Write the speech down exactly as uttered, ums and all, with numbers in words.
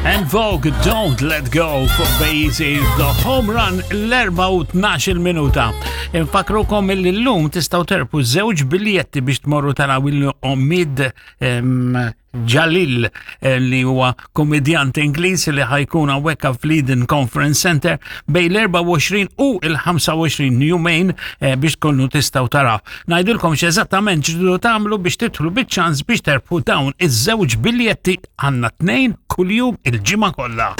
En Vogue, Don't Let Go fuq Bejzi, The Home Run l-erbgħa u tnax-il minuta. Infakrukom illi l-lum tistgħu terbħu żewġ biljetti biex tmorru taraw il-Omid Jalil eh, li huwa komedjant Ingliż li ħa jkun hawnhekk fl-Eden Conference Center bejn l-erbgħa u għoxrin u il-ħamsa u għoxrin, jumejn, eh, biex tkunu tistgħu taraw. Ngħidilkom x'eżattament ġidu tagħmlu biex tidħlu biċ-ċans biex terbħu dawn iż-żewġ biljetti. Għandna tnejn kuljum il-ġimgħa kollha.